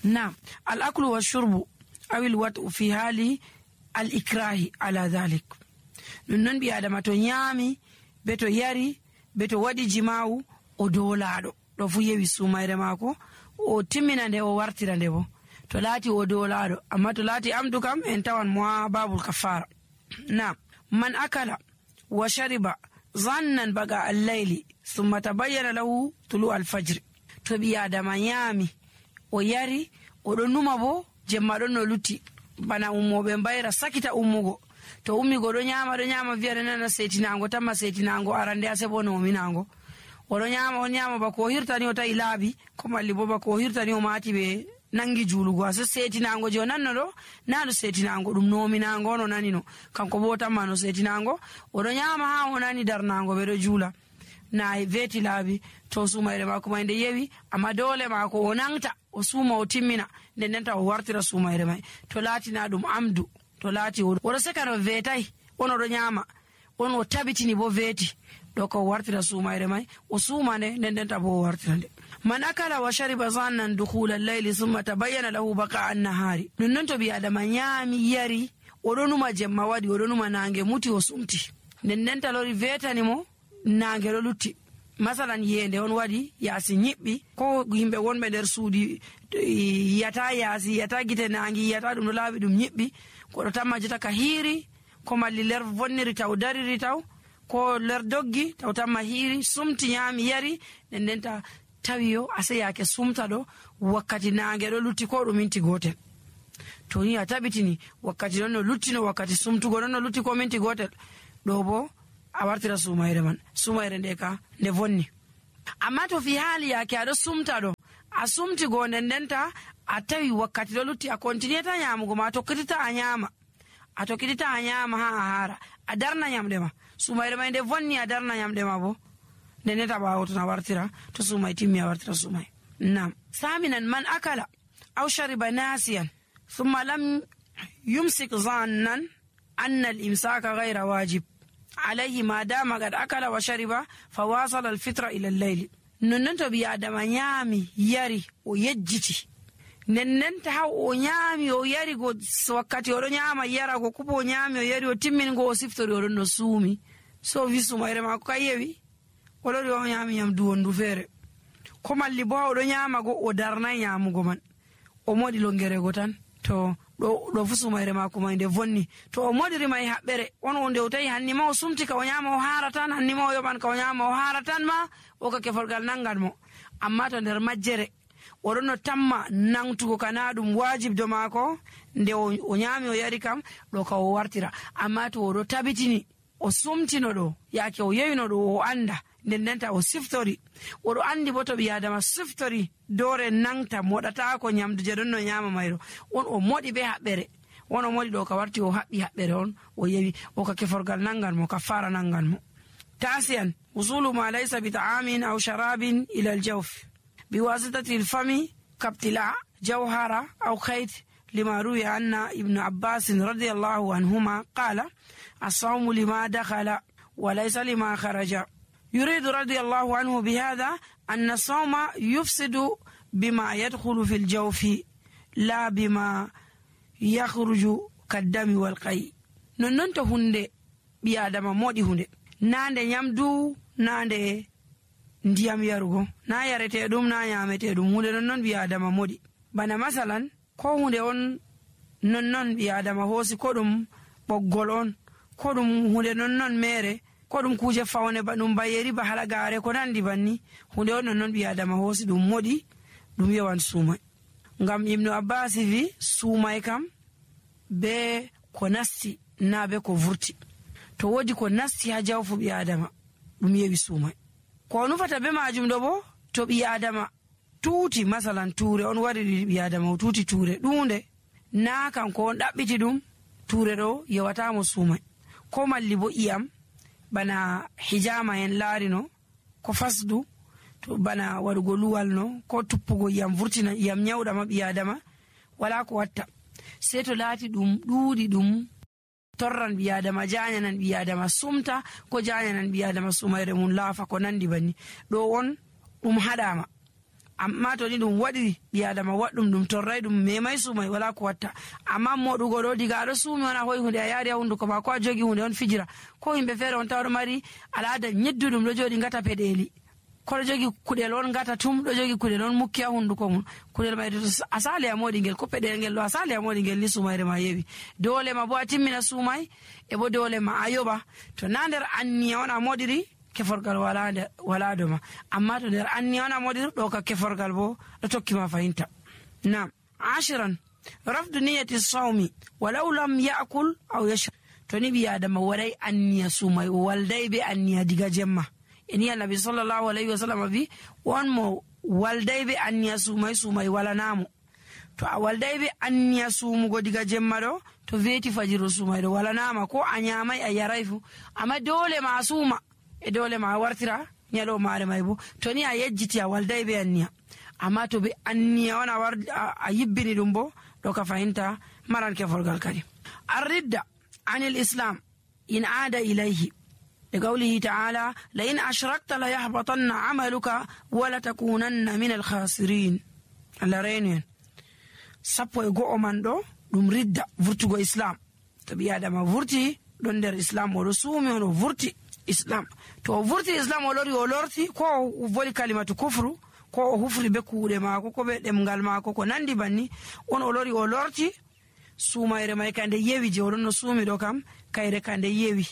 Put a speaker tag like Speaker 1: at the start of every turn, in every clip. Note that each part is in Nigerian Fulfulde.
Speaker 1: نعم الأكل والشرب أو الوطء في حال الإكراه على ذلك نون بي آدم تو نيامي بتو ياري بتو ودي جماو o dolaɗo ɗo fu yewi sumayre mako o timmina nde o wartira nde bo to laati o dolaɗo amma to laati amdu kam en tawan mo ha babul kafara. Na man akala wa shariba zannan baga al-layli thumma tabayyana lahu tulu al-fajr to bi adama nyami o yari o ɗo numa bo jemma ɗon no lutti bana ummoɓe mbayra sakita ummugo to ummigo ɗo nyama wiya nana setinango tamma setinango arande ase bo no minango oɗo nyama bako o hirtani o tawi laabi ko malli bo bako o hirtani o maati ɓe nangi juulugo ase setinango je o nanno ɗo na ɗo setinango ɗum nominango ono nanino kanko bo tamma no setinango oɗo nyama ha o nani darnango ɓeɗo juula na veti laabi to sumayre mako may nde yewi amma dole mako o nangta o suuma o timmina nden ndenta o wartira sumayre may to laatina ɗum amdu to laati oɗo sekano vetay on oɗo nyama on o tabitini bo veti ɗo ko wartira sumayre may o suuma nde nden ndenta bo o wartira nde. Man akala wa shariba zannan dukhula al-layli thumma tabayyana lahu baqa an-nahari nonnon to bi adama nyami yari oɗo numa jemma waɗi oɗo numa nange muti o sumti nden ndenta lori vetani mo nange ɗo lutti masalan yende on waɗi yaasi ñiɓɓi ko yimɓe wonɓe nder suudi yiyata yaasi yiyata gite nangi yiyata ɗum ɗo laaɓi ɗum ñiɓɓi koɗo tamma jeta ka hiiri ko malli ler vonniri taw dariri taw ko ler doggi taw tamma hiiri sumti nyami yari nden ndenta tawi yo ase yake sumta ɗo wakkati nange ɗo lutti ko ɗum minti gotel to ni a tabitini wakkati ɗon no lutti no wakkati sumtugo ɗon no lutti ko minti gotel ɗo bo a wartira sumayre man sumayre nde ka nde vonni. Amma to fi haali yake aɗo sumta ɗo a sumti go nden ndenta a tawi wakkati ɗo lutti a continueta nyamugo ma a tokkitita a nyama ha a haara a darna nyamɗe ma sumayre may nde vonni a darna nyamɗe ma bo nden ndenta ɓawo ton a wartira to sumay timmi a wartira sumay. Nam saminan man akala aw shariba nasiyan thumma lam yumsik zannan anna al-imsaka ghayra wajib alayhi ma dama qad akala wa shariba fawasala al-fitra ila al-layl nonnon to bi adama nyami yari o yejjiti nennenta haw o nyami o yari go wakkati oɗo nyama yara go kubo o nyami o yari o timmin go o siftori oɗon no suumi so wi sumayre mako ka yewi oɗo o nyami nyamdu wondu feere ko malli bo oɗo nyama go o darnay nyamugo man o moɗi longere go tan to ɗo fu sumayre mako may nde vonni to o moɗiri may haɓɓere on o nde o tawi hannima o sumti ka o nyama o haara tan hannima o yoɓan ka o nyama o haara tan ma o ka keforgal nangan mo amma to nder majjere oɗon no tamma nangtugo kana ɗum wajib do mako nde o nyami o yari kam ɗo ka o wartira amma to oɗo tabitini o sumtino ɗo yake o yewino ɗo o anda nden ndenta o siftori oɗo andi bo to ɓi adama siftori dore nangta moɗata ko nyamdu je ɗon no nyama mayro on o moɗi be haɓɓere on o moɗi ɗo ka warti o haɓɓi haɓɓere on o yewi o ka keforgal nangan mo ka fara nangan mo. Tasiyan usulu ma laysa bi ta'amin aw sharabin ila al-jawf biwasitati al-fami kabtila jawhara aw khayt lima ruwiya anna ibn Abbas radiyallahu anhuma qala as-sawmu lima dakhala wa laysa lima kharaja. يريد رضي الله عنه بهذا أن الصوم يفسد بما يدخل في الجوف لا بما يخرج كالدم والقي نونتو هندي بيادما مودي هندي ناندي يمدو ناندي ndiyam yarugo na yarete dum na nyamete dum hunde non bi adama modi bana masalan ko hunde on non bi adama hosi ko dum boggol on ko dum hunde non mere ko ɗum kuje fawne ba ɗum bayeri ba halagare ko nandi banni hunde on non ɓi adama hoosi ɗum moɗi ɗum yewan suumay ngam ibnu Abbas wi suumay kam be ko nasti na be ko vurti to wodi ko nasti ha jawfu ɓi adama ɗum yewi suumay ko nufata be majum ɗo bo to ɓi adama tuuti masalan tuure on waɗi ɓi adama o tuuti tuure ɗunde na kanko on ɗaɓɓiti ɗum tuure ɗo yewatamo suumay ko malli bo iyam bana hijama en laarino ko fasdu to bana waɗugo luwal no ko tuppugo yam vurtina yam nyawɗama ɓi adama wala ko watta sei to laati ɗum ɗuuɗi ɗum torran ɓi adama janyanan ɓi adama sumta ko janyanan ɓi adama sumayre mum laafa ko nandi banni ɗo on ɗum haɗama amma to ni ɗum waɗi ɓi adama waɗɗum ɗum torray ɗum memay suumay wala ko watta. amma moɗugo ɗo diga aɗo suumi on a hoyi hunde a yaari ha hunduko ma ko a jogi hunde on fijira ko yimɓe feere on tawa ɗo mari al'ada nyedduɗum ɗo jooɗi ngata peɗeli ko ɗo jogi kuɗel on ngata tum ɗo jogi kuɗel on mukki ha hunduko mum kuɗel may a sali a moɗi ngel ko peɗel ngel ɗo a sali a moɗi ngel ni sumayre ma yewi dole ma bo a timmina suumay e bo dole ma a yoɓa to na nder anniya on a moɗiri keforgal wala doma amma to nder anniya on a moɗiri ɗo ka keforgal bo ɗo tokkima fahinta. Nam 10 rafdu niyati sawmi walau lam yakul aw yashrab to ni ɓi adama waɗay anniya suumay o walday be anniya diga jemma eni annabi sallallahu alaihi wasallam bi won mo walday be anniya suumay walanamo to a walday be anniya suumugo diga jemma ɗo to weeti fajiro suumay ɗo walanama ko a nyamay a yaray fu amma dole ma a suuma e dole ma a wartira nyalo mare may bo to ni a yejjiti a walday be anniya amma to be anniya on a yibbini ɗum bo ɗo ka fahinta maran keforgal kadi. arridda anil islam in aada ilayhi لقوله تعالى لئن أشركت ليحبطن عملك ولتكونن من الخاسرين. الله رينين سبو يغو من دو دم رد فرتغو إسلام تبي آدم فرتي دون در إسلام ورسومي ورفرتي إسلام تو فرتي إسلام ولورتي كو فولي كلمة كفر كو هفري بكو دماغو كو بدمغال ماكو كو ناندي باني on olorti sumayre may kande yewi je oɗon no suumi ɗo kam kayre kande yewi.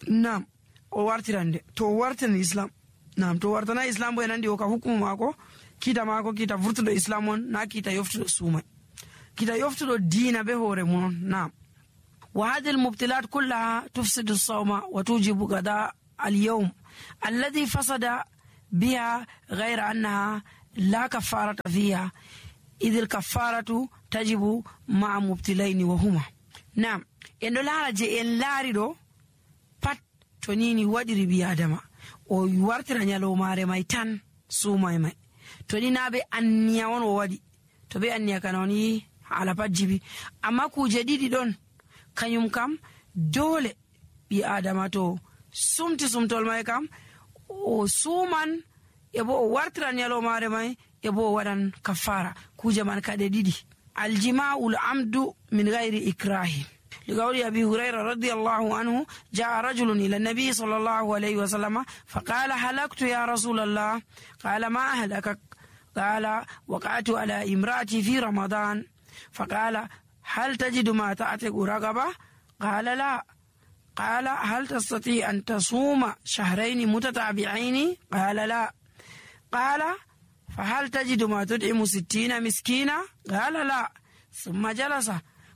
Speaker 1: Nam o wartirande to wartan islam nam to wartana islam bo enandi o ka hukumu mako kita vurtuɗo islam on na kita yoftuɗo suumay kita yoftuɗo diina be hoore mum on. Nam wa hadi almubtilat kullaha tufsidu sawma wa tujibu gada alyawm alladhi fasada biha ghayra annaha la kafarata fiha idh alkafaratu tajibu ma'a mubtilaini wa huma. Nam en ɗo laara je en laari ɗo pat to nini waɗiri ɓi adama o wartira nyalomare may tan suumay may to ni na be anniya on o waɗi to be anniya kana on yi hala pat jibi amma kuje ɗiɗi ɗon kanyum kam dole ɓi adama to sumti sumtol may kam o suuman e bo o wartira nyalomare may e bo o waɗan kafara kuje man kaɗe ɗiɗi. aljima'ul amdu min ghairi ikrahi لقول أبي هريرة رضي الله عنه جاء رجل إلى النبي صلى الله عليه وسلم فقال هلكت يا رسول الله قال ما أهلكك قال وقعت على امرأتي في رمضان فقال هل تجد ما تعتق رقبة قال لا قال هل تستطيع أن تصوم شهرين متتابعين قال لا قال فهل تجد ما تدعم 60 مسكينا قال لا ثم جلس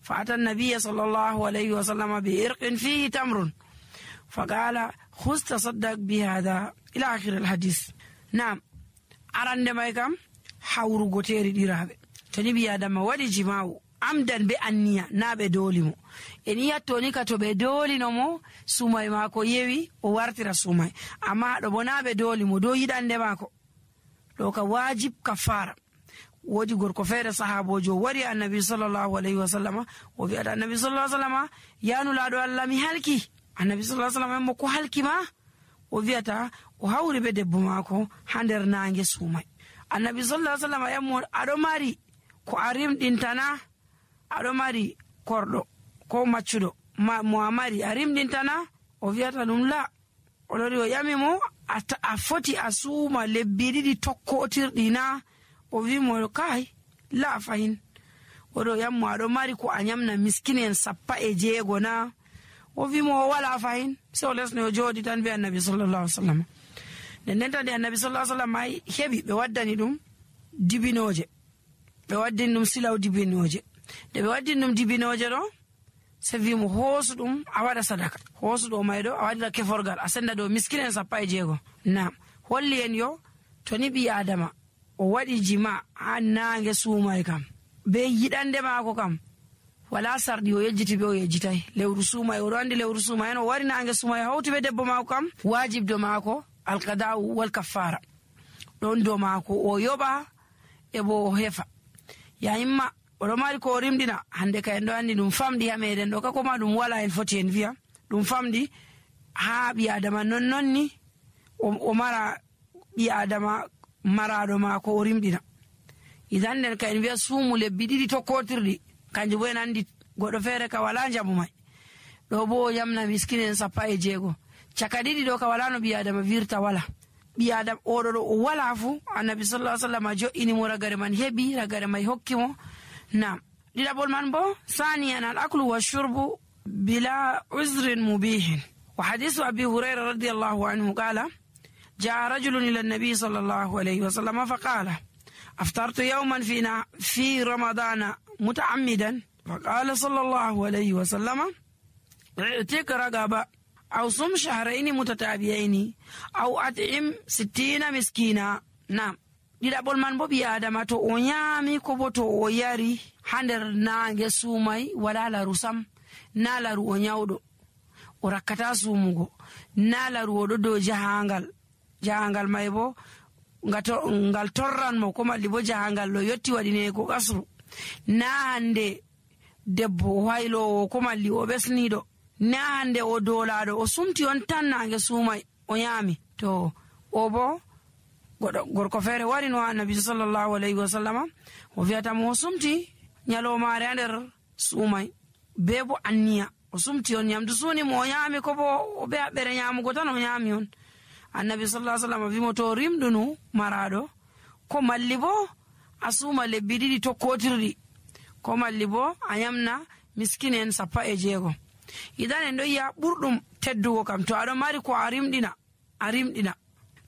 Speaker 1: فأتى النبي صلى الله عليه وسلم بإرق فيه تمر فقال خذ تصدق بهذا إلى آخر الحديث. نعم أرند مايكم حورو غوتيري ديرابي تنبي آدم ودي جماو عمدا بأنيا نابي دوليمو إنيا تونيكا توبي دولي نمو سوماي ماكو يوي ووارتira سوماي أما دو نابي دوليمو دو يدان ماكو لوكا واجب كفارة. wodi gorko feere sahabojo wari annabi sallallahu alaihi wasallam o wi'ata annabi sallallahu alaihi wasallam yanu laado Allah mi halki annabi sallallahu alaihi wasallam mo ko halki ma o wi'ata o hawri be debbo mako ha nder nange suumay annabi sallallahu alaihi wasallam yammo ado mari ko arim dintana ado mari kordo ko maccudo mo amari arim dintana o wi'ata dum la o lori o yami mo a foti asuma lebbi didi tokkotirdina o wi mo kai la fahin odo yammo aɗo mari ko a nyamna miskinen 16 na o wi mo wala fahin so lesno o jodi tan be annabi sallallahu alaihi wasallam nden tan annabi sallallahu alaihi wasallam ay hebi be waddani dum dibinoje be waddini dum silaw dibinoje de be waddini dum dibinoje do se wi mo hosudum a wada sadaka hosudo maydo a wadda keforgal a senda do miskinen 16 na holli en yo to ni bi adama o waɗi jima ha nange suumay kam be yiɗande maako kam wala sarɗi o yejjiti be o yejjitay lewru suumay oɗo andi lewru suumay en o wari nange suumay hawti be debbo maako kam wajib do maako alqada'u wal kaffara ɗon do maako o yoɓa e bo o hefa yayimma oɗo mari ko o rimɗina hande ka en ɗo andi ɗum famɗi ha meɗen ɗo kakoma ɗum wala en foti en wiya ɗum famɗi ha ɓi adama nonni o mara ɓi adama maraɗo maako o rimɗina idan nden ka en wi'a suumu lebbi ɗiɗi tokkotirɗi kanjum bo en andi goɗɗo feere ka wala jamu mai ɗo bo o yamna miskine en 16 caka ɗiɗi ɗo ka wala no ɓi adama virta wala ɓi adam oɗo ɗo o wala fu annabi sallallahu alaihi wasallam jo'inimo ragare man heɓi ragare mai hokkimo nam ɗiɗaɓol man bo saniyan al aklu wa shurbu bila uzrin mubihin wa hadisu abi hurayra radiyallahu anhu qala جاء رجل إلى النبي صلى الله عليه وسلم فقال أفطرت يوما في رمضان متعمدا فقال صلى الله عليه وسلم اعتق رقبة أو صم شهرين متتابعين أو أطعم 60 مسكينا نعم ɗiɗaɓol man bo ɓi adama to o ñaami ko bo to o yari ha nder naange suumay wala laru sam na laru o ñawɗo o rakkata suumugo na laru oɗo dow jahangal may bo ngal torran mo ko malli bo jahangal ɗo yotti waɗine ko kasru na hande debbo o haylowo ko malli o ɓesniɗo na hande o dolaɗo o sumti on tan naange suumay o ñaami to o bo gorko feere wari no annabi sallallahu alaihi wasallama o wi'atamo o sumti ñalowmaare ha nder suumay be bo anniya o sumti on ñamdu suuni mo o ñaami ko bo o ɓe haɓɓere ñamugo tan o ñaami on annabi sallallahu alaihi wasallam wimo to rimɗunu maraɗo ko malli bo a suuma lebbi ɗiɗi tokkotirɗi ko malli bo a ñamna miskine en 16 idan en ɗo yiya ɓurɗum teddugo kam to aɗon mari ko a rimɗina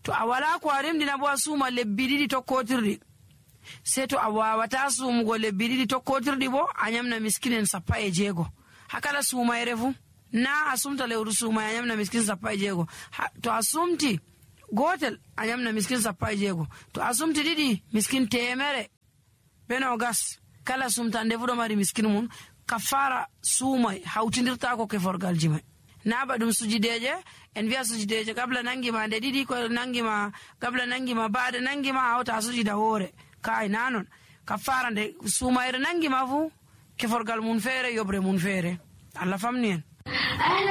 Speaker 1: to a wala ko a rimɗina bo a suuma lebbi ɗiɗi tokkotirɗi sei to a wawata suumugo lebbi ɗiɗi tokkotirɗi bo a ñamna miskine en 16 hakala suumayre fu na a sumta lewru suumay a ñamna miskin 16 to a sumti gotel a ñamna miskin 16 to a sumti ɗiɗi miskin 100 beno gas kala sumtande fu ɗo mari miskin mum kafara suumay hawtidirtako keforgalji may na ba ɗum sujideje en wiya sujideje gabla nangima nde ɗiɗi ko nangima gabla nangima baade nangima a hawta a sujida hoore kay nanon kafara nde suumayre nangima fu keforgal mum feere yobre mum feere Allah famni en